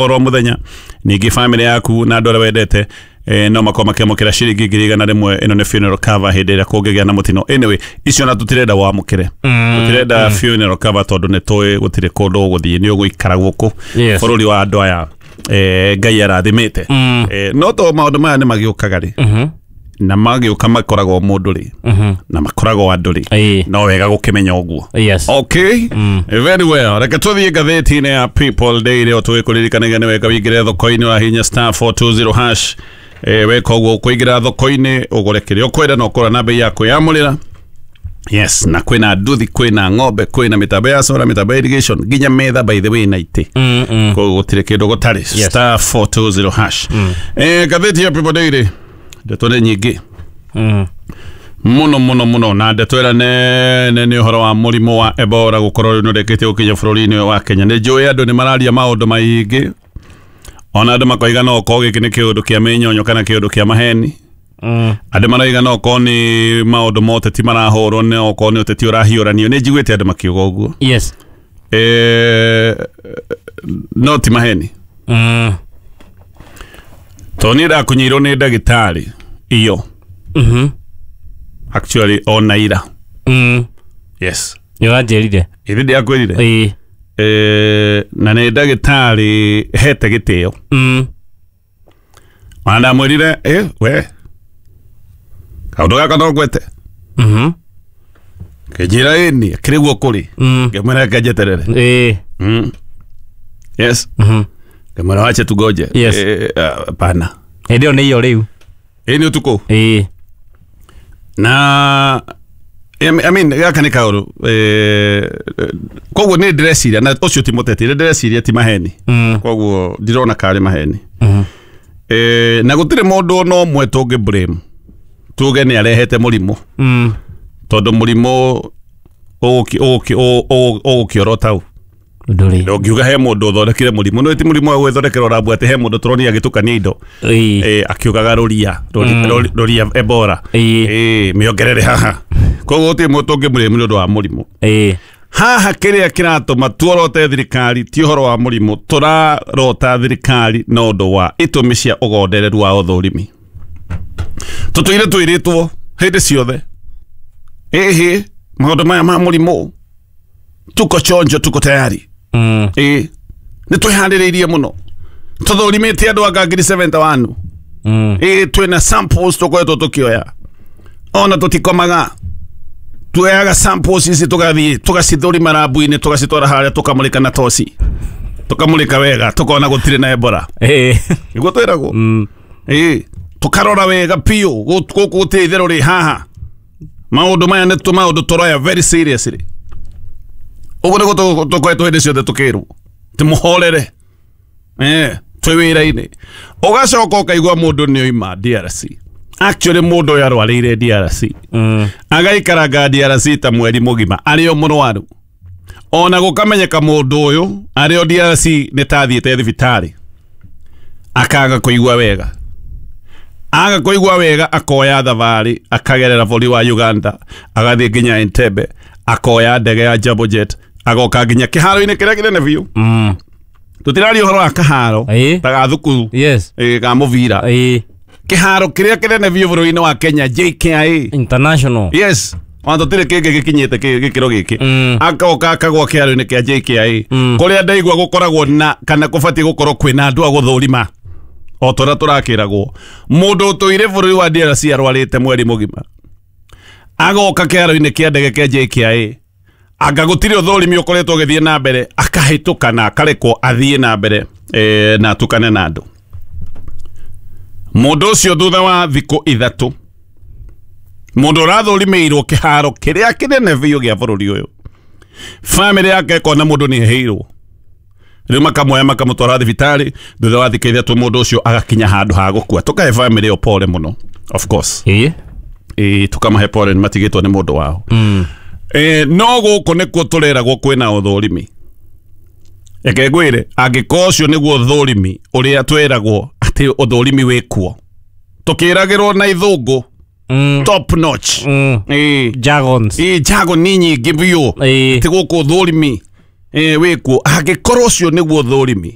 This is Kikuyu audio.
Oro muthenya ningĩ family yaku na andũ arĩa wendete no makorwo makĩamũkĩra ciringi 100,000. Ĩno nĩ funeral cover hĩndĩ ĩrĩa kũngĩgĩa na mũtino. Anyway, icio na tũtirenda wamũkĩre, tũtirenda funeral cover tondũ nĩ tũĩ gũtirĩ kũndũ ũgũthiĩ, nĩ ũgũikara gũkũ bũrũri wa andũ aya Ngai arathimĩte. No to maũndũ maya nĩ magĩũkaga rĩ, na magĩũka makoragwo mũndũ rĩ, na makoragwo andũ rĩ, no wega gũkĩmenya ũguo. Okay, very well. Reke tũthiĩ ngathĩti-inĩ ya People Daily. O tũgĩkũririkanagia nĩ wega wĩingĩre thoko-inĩ, ũrahihinya *420#. Weka ũguo ũkũingĩra thoko-inĩ, ũgũre kĩrĩa ũkwenda na ũkũra na bei ya kwĩyamũrĩra. Yes, na kwĩna nduthi, kwĩna ng'ombe, kwĩna mĩtambo ya solar, mĩtambo ya irrigation, nginya metha, by the way, na itĩ. Koguo gũtirĩ kĩndũ gũtarĩ. *420#. Ngathĩti ya People Daily, ndeto nĩ nyingĩ muno muno muno, na ndeto ĩrĩa nene nĩ ũhoro wa mũrimũ wa Ebola gũkorwo rĩu nĩ ũrĩkĩtie gũkinya bũrũri-inĩ ũyũ wa Kenya. Nĩ njũĩ andũ nĩ mararia maũndũ maingĩ, ona andũ makoiga no okorwo gĩkĩ nĩ kĩũndũ kĩa mĩnyonyo kana kĩũndũ kĩa maheni. Andũ marauga no okorwo nĩ maũndũ ma ũteti marahũrwo, no okorwo nĩ ũteti ũrahiũranio. Nĩ njiguĩte andũ makiuga ũguo. No ti maheni, tondũ niĩ ndakunyĩirwo nĩ ndagĩtarĩ iyo, actually ona ira. Yes. Nĩ ũranjĩrire. Ĩthĩ ndiakwĩrire? Ĩĩ. Na nĩ ndagĩtarĩ hete gĩtĩo. Ona ndamwĩrire, we kaũndũ gaka no ngwete. Kĩnjĩra ĩni akĩrĩ guo kũrĩ. Ngĩmwĩra reke njeterere. Yes. Ngĩmwĩra wache tugoje. Hapana. Hĩndĩ ĩyo nĩ iyo rĩu. Ĩ, nĩ ũtukũ. Na I mean, gaka nĩ kaũndũ, koguo nĩ ndĩreciria na ũcio ti mũteti, nĩ ndĩreciria ti maheni. Koguo ndirona karĩ maheni. Na gũtirĩ mũndũ ona ũmwe tũngĩ blame tuge nĩ arehete mũrimũ, tondũ mũrimũ ũgũkĩora tau. Ndũrĩ. Ndũngiuga he mũndũ ũthondekire mũrimũ. No ti mũrimũ wa gwĩthondekera ũrambua atĩ he mũndũ tũronire agĩtukania indo, akiugaga rũria rũria Ebola, mĩongerere haha. Koguo gũtirĩ mũndũ ũngĩmũrĩmu nĩ ũndũ wa mũrimũ. Haha kĩrĩa kĩratũma tuorote thirikari ti ũhoro wa mũrimũ, tũrarota thirikari na ũndũ wa itũmi cia ũgondereru wa ũthũrimi. Tũtũire twĩrĩtwo hĩndĩ ciothe, ĩhĩ, maũndũ maya ma mũrimũ, tuko chonjo, tuko tayari. Ĩ, nĩ twĩharĩrĩirie mũno, tũthũrimĩte andũ anga 71,000. Ĩ, twĩna samples tũkoretwo tũkĩoya, ona tũtikomaga, tuoyaga samples ici tũgathiĩ tũgacithũrima rambu-inĩ, tũgacitwara harĩa, tũkamũrĩka na toci, tũkamũrĩka wega, tũkona gũtirĩ na Ebola. Nĩguo twĩragwo. Ĩ, tũkarora wega biũ, gũkũ gũtirĩ itherũ rĩ haha. Maũndũ maya nĩ maũndũ tũroya very seriously. Ũguo nĩguo tũkoretwo hĩndĩ ciothe tũkĩrwo tĩmũhorere, twĩ wĩra-inĩ. Ũgacoka ũkaigua mũndũ nĩ oima DRC. Actually, mũndũ ũyũ arwarĩire DRC, agaikaranga DRC ta mweri mũgima arĩ o mũrwaru, ona gũkamenyeka mũndũ ũyũ arĩ o DRC nĩ tathiĩte thibitarĩ, akaga kũigua wega. Aga kũigua wega, akoya thabarĩ, akagerera bũrũri wa Uganda, agathiĩ nginya Entebbe, akoya ndege ya Jambo Jet, agoka nginya kĩharo-inĩ kĩrĩa kĩnene biũ. Tũtiraria ũhoro wa kaharo ta ga thukuru, ga mũbira, kĩharo kĩrĩa kĩnene biũ bũrũri-inĩ wa Kenya, JKIA. International. Yes, ona tũtirĩ kĩngĩ gĩkinyĩte gĩkĩro gĩkĩ. Akoka akagwa kĩharo-inĩ kĩa JKIA, kũrĩa ndaigua gũkoragwo na kana kũbatiĩ gũkorwo kwĩna andũ a gũthũrima o ta ũrĩa tũrakĩragwo. Mũndũ ũtũire bũrũri wa DRC arwarĩte mweri mũgima, agoka kĩharo-inĩ kĩa ndege kĩa JKIA, anga gũtirĩ ũthũrimi ũkoretwo ũgĩthiĩ na mbere, akahĩtũka na akarekwo athiĩ na mbere, na atukane na andũ. Mũndũ ũcio thutha wa thikũ 3, mũndũ ũrathũrimĩirwo kĩharo kĩrĩa kĩnene biũ gĩa bũrũri ũyũ, famĩlĩ yake ĩkona mũndũ nĩ ehĩirwo, rĩu makamuoya makamũtwara thibitarĩ. Thutha wa thikũ 3 mũndũ ũcio agakinya handũ ha gũkua. Tũkahe famĩlĩ ĩyo pole mũno, of course. Ĩ, tũkamahe pole nĩ matigĩtwo nĩ mũndũ wao. No gũkũ nĩkuo tũreragwo kwĩna ũthũrimi. Reke ngwĩre, angĩkorwo ũcio nĩguo ũthũrimi ũrĩa twĩragwo atĩ ũthũrimi wĩkuo, tũkĩragĩrwo na ithũngũ, top notch. Jargons. Ĩ, jargon nĩ nyingĩ biũ. Atĩ gũkũ ũthũrimi wĩkuo, angĩkorwo ũcio nĩguo ũthũrimi.